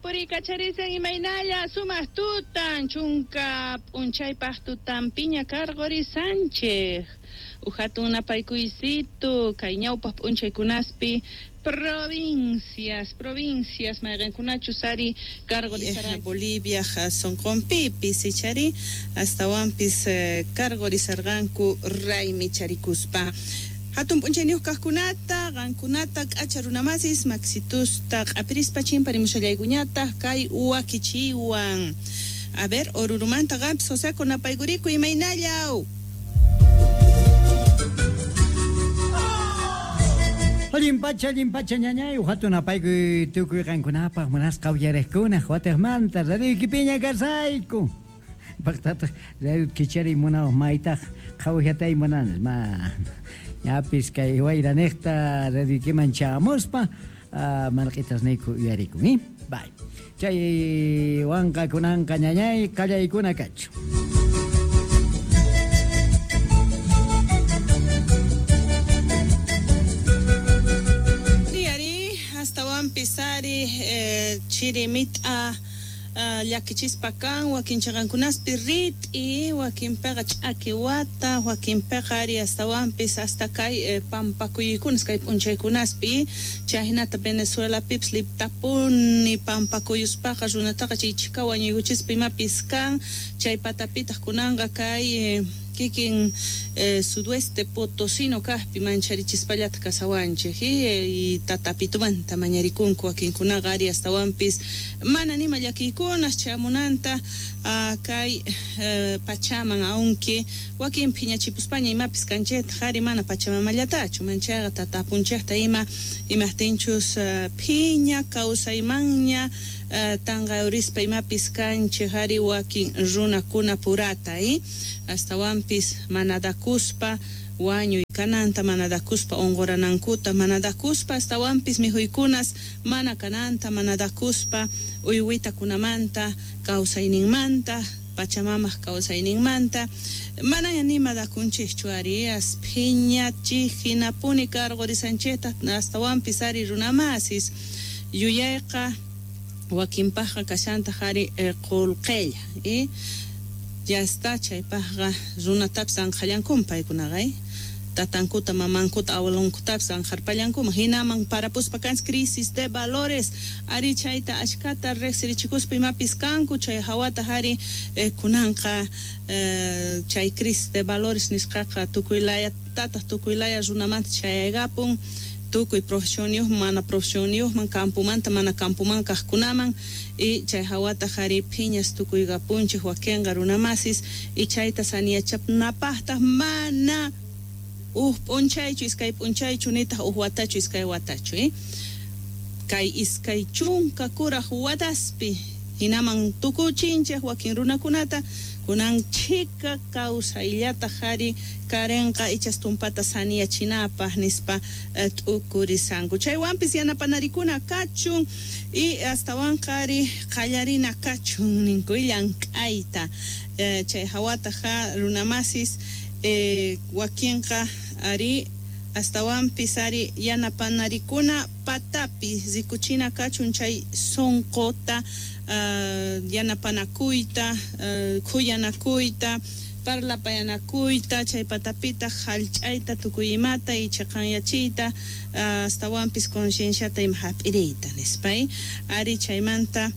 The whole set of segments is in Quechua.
Purikacharisan imaynalla sumaq tutan chunka p'unchaypaq tutanpiña karqurisanchik uj hatun napaykuysitu kay ñawpaq p'unchaykunaspi provincias provincias mayqinkunachus ari karqurisaran Bolivia sunqunpipis ichari astawanpis karqurisarqanku raymicharikuspa. Hatun p'unchayniyuq kaqkunata, qankunata k'acha runamasis maksitusta q'apirispa chimparimushallaykuñataq kay wakichiwan. A ver, Orurumanta qampis Joseco napaykuriku imaynallaw. Allin pacha ñañay, hatun napaykuy tukuy qankunapaq munasqa uyariqkuna watiqmanta radioykipiña kasayku. Paqtataq radio kichariy munawaq maytaq qhawajatay munanis ma ñapis kay wayraniqta radioykiman chamuspa marq'itasniyku uyarikun, ¿eh? Bye. Chay wanqa kunanqa ñañay qallaykuna kachu. Ari astawanpis ari chiri mit'a llakichispa kan wakin chaqankunaspi rit'i wakinpiqa ch'aki wata wakinpiqa ari astawanpis hasta kay pampakuykunas kay p'unchaykunaspi chayhinata Venezuelapipis liptapuni pampakuyuspaqa runataqa chay chhika wañuykuchispa imapis kan chay patapitaq kunanqa kay kikin sudoeste potosino kaqpi mancharichispallataj kasawanchik y tatapitumanta mañarikunku wakinkunaqa ari astawanpis mana nima llakiykunas chamunanta kay pachaman aunque wakin phiñachipuspaña imapis kanchaytaq ari mana pachamamallatachu manchayqa tatapunchikta ima imaqtinchus phiña kawsaymanña tanqayurispa imapis kanchik ari wakin runakuna purata astawanpis manadakuspa wañuy kananta manadakuspa unquranankuta manadakuspa astawanpis mikhuykunas mana kananta manadakuspa uywitakunamanta kawsayninmanta pachamamaq kawsayninmanta manaña nima dakunchikchu ari as phiñachik hinapuni karqurisanchikta astawanpis ari runamasis yuyayqa wakinpaqqa kashantaq ari qullqilla ya está chaypaqqa runatapis anqhallankuman paykunaqa tatankuta mamankuta abuelonkutapis anqharpallankuman hinaman parapuspa kanchik crisis de valores ari chayta ashkata riqsirichikuspa imapis kanku chay hawataq ari kunanqa chay crisis de valores nisqaqa tukuy layatataq tukuy laya runamanta chayaykapun tukuy profesionniyuqman mana profesionniyuqman campumanta mana campuman kaqkunaman y chay hawataq ari phiñas tukuykapunchik wakinqa runamasis y chayta saniyachapnapaqtaq mana uj p'unchaychu iskay p'unchaychu nitaq uj watachu iskay watachu kay iskay chunka kuraq wataspi hinaman tukuchinchik wakin runakunata kunan chhika kawsayllataq ari karinqa ichas tumpata saniyachinapaq nispa t'ukurisanku chaywanpis yanapanarikuna kachun y astawanqa ari qallarina kachun ninku llank'ayta chay hawataq runamasis wakinqa ari astawanpis ari yanapanarikuna patapi rikuchina kachun chay sunquta yanapanakuyta khuyanakuyta parlapayanakuyta chay patapitaq hallch'ayta tukuy imata y chaqanyachiyta astawanpis concienciata ima hap'iriyta nispa ari chaymanta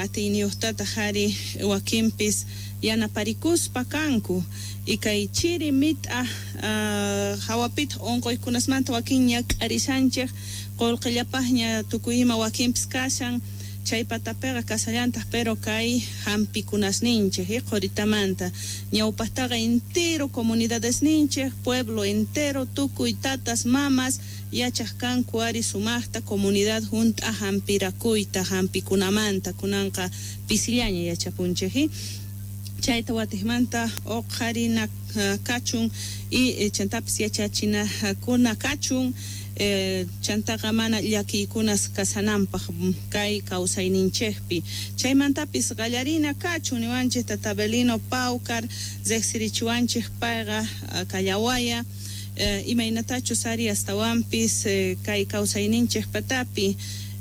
atiyniyuqtataq ari wakinpis yanaparikuspa kanku y kay chiri mit'a hawapitaq unquykunasmanta wakin ñak'arishanchik qullqillapaqña tukuy ima wakinpis kashan chay patapiqa kasallantaq pero kay hampikunasninchik quritamanta ñawpaqtaqa entero comunidadesninchik pueblo entero tukuy tatas mamas yachaq kanku ari sumaqta comunidad hunt'a hampirakuyta hampikunamanta kunanqa pisillaña yachapunchik chayta watiqmanta uqharina kachun y chantapis yachachinakuna kachun chantaqa mana llakiykunas kasananpaq kay kawsayninchikpi chaymantapis qallarina kachun niwanchik tata Abelino Paucar riqsirichiwanchik payqa kallawaya imaynatachus ari astawanpis kay kawsayninchik patapi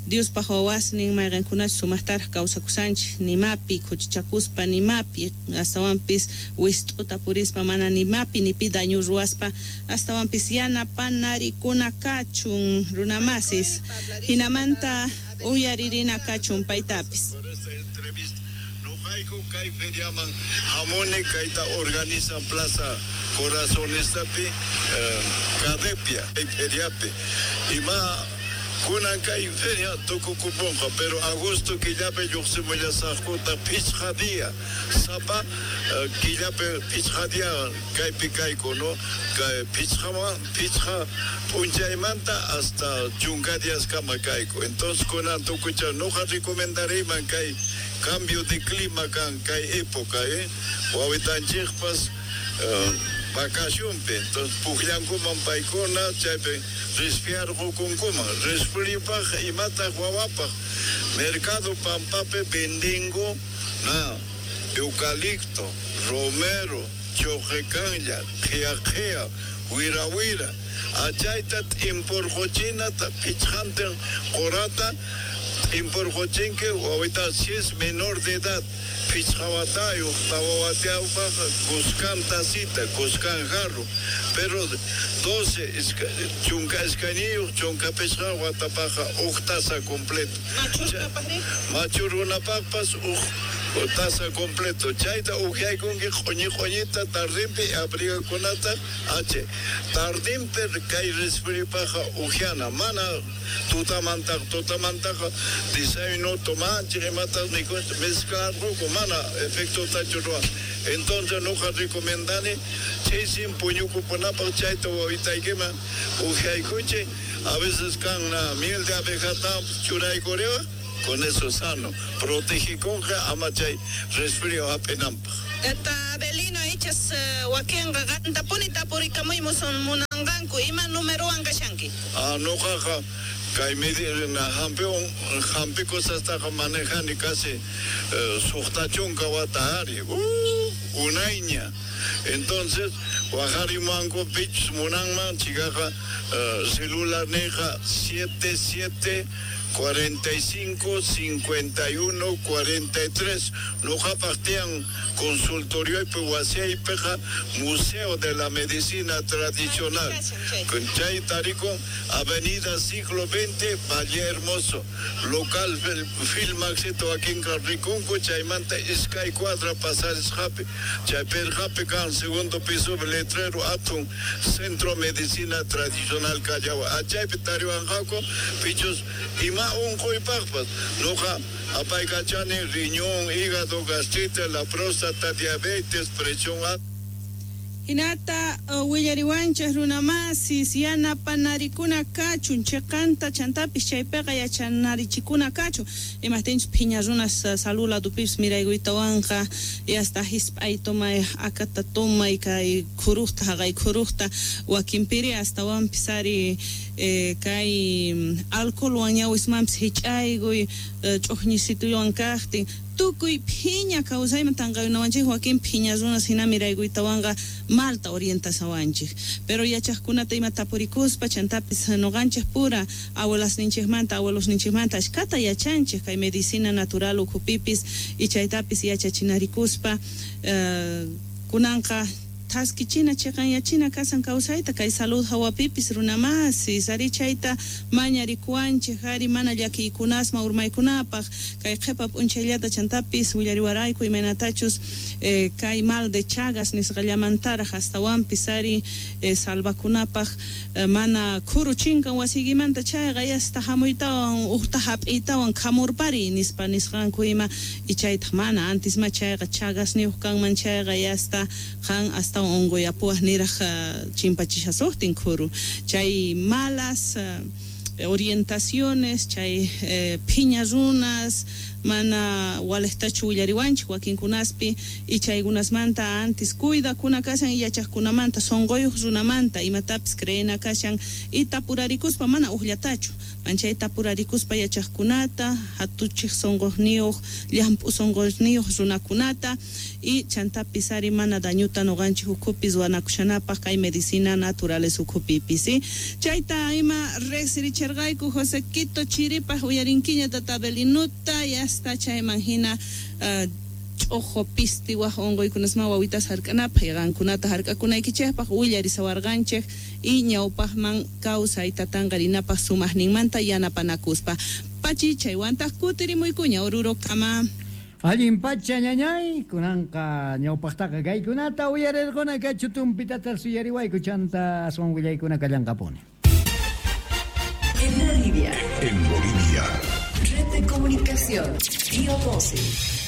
Diospaq wawasnin mayqinkunachu sumaqtaraq kawsakusanchik nimapi khuchichakuspa nimapi astawanpis wist'uta purispa mana nimapi ni pi daño ruwaspa astawanpis yanapanarikuna kachun runamasis hinamanta uyaririna kachun paytapis. Noqayku kay feriaman hamuni kayta organizan Plaza Corazonistapi Cadepia kay feriapi ima kunan kay feria tukukupunqa pero agosto killapi lluqsimullasaqkuta 5 día sapa killapi 5 día kaypi kayku no kay 5 p'unchaymanta hasta 10 días kama kayku entonces kunan tukucha noqa recomendariyman kay cambio de clima kan kay época wawitanchikpas vacacionpi entonces pukllankuman paykuna chaypi resfriarqukunkuman resfriupaq imataq wawapaq mercado pampapi vendingo na eucalipto romero choqekanlla qhiya wira wira achayta t'imporquchinata 5 qurata t'imporquchinki wawita si es menor de edad 5 watayuq 4 watayuqpaq kuskan tacita kuskan jarro pero 12 12 15 watapaqqa huk taza completo machu runapaqpas huk taza completo chayta ukyaykunki q'uñi q'uñita tardinpi abrigakunata h tardinpi kay resfriupaqqa ukyana mana tutamantaqa desayuno tomanchik imatas mikunchik mezclarqunku mana efectotachu ruwan entonces noqa recomendani chaysin puñukupunapaq chayta wawitaykiman ukyaykunchik a veces kan miel de abejata churaykuriwa con eso sano protegikunqa ama chay resfrío hap'inanpaq. Tata Abelino ichas wakinqa qantapuni tapurikamuymusun munanqanku ima numerowan kashanki? Noqaqa kay medina hampi cosastaqa manejani casi 60 wata ari unayña entonces waqarimanku pichus munanman chikaqa celular niqa 77 45 51 43 noqapaq tiyan consultorioypi wasiypiqa Museo de la Medicina Tradicional chay tarikun Avenida Siglo XX Valle Hermoso local Filmaxito wakinqa rikunku chaymanta 2 cuadra pasarisqapi chay perqapi kan segundo piso letrero atun Centro Medicina Tradicional Callao achaypi tariwanqaku pichus ima unquypaqpas noqa apaykachani riñón, hígado, gastritis, la próstata, diabetes, presión alta. Hinata willariwanchik runamasis yanapanarikuna kachun chiqanta chantapis chaypiqa yachanarichikuna kachun imaqtinchus phiña runas salud ladupipis miraykuytawanqa yasta hisp'ay tomay akata tomay kay khuruqta haqay khuruqta wakinpiri astawanpis ari kay alcoholwan ñawismanpis hich'aykuy ch'uqñisituywan kaqtin tukuy phiña kawsayman tanqayunawanchik wakin phiña runas hina miraykuytawanqa malta orientasawanchik pero yachaqkunata ima tapurikuspa chantapis noqanchik pura abuelasninchikmanta abuelosninchikmanta ashkata yachanchik kay medicina natural ukhupipis y chaytapis yachachinarikuspa kunanqa thaskichina chiqanyachina kasan kawsayta kay salud hawapipis runamasis ari chayta mañarikuwanchik ari mana llakiykunasma urmaykunapaq kay qhipa p'unchayllata chantapis willariwarayku imaynatachus kay mal de Chagas nisqallamantaraq astawanpis ari salvakunapaq mana khuru chinkan wasiykimanta chayqa yasta hamuytawan uqta hap'iytawan khamurpari nispa nisqanku ima y chaytaq mana antisma chayqa Chagasniyuq kanman chayqa yasta qan hasta unquyapuwaq niraq chimpachishasuqtin khuru chay malas orientaciones chay phiña runas mana walejtachu willariwanchik wakinkunaspi y chaykunasmanta antis cuidakuna kashan y yachaqkunamanta sunquyuq runamanta imatapis creena kashan y tapurarikuspa mana uqllatachu manchay tapurarikuspa yachaqkunata hatuchiq sunquqniyuq llamp'u sunquqniyuq runakunata y chantapis ari mana dañuta nuqanchik ukhupis wanakushanapaq kay medicina naturales ukhupipis chayta ima riqsirichirqa. Uyarerqayku José Quito Chiripaj uyarinkiña tata Belinuta y hasta chayman hina ch'uqu pisti waj unquykunasman wawitas hark'anapaq y qankunata hark'akunaykichikpaq willarisawarqanchik y ñawpaqman kawsayta tanqarinapaq sumaqninmanta yanapanakuspa. Pachi chaywantaq kutirimuykuña Orurokama. Allin pacha ñañay, kunanqa ñawpaqtaqa kaykunata uyarirquna kachu tumpitata suyariwayku chanta aswan willaykuna kallanqapuni. En Bolivia. En Bolivia. Red de comunicación. Río 12.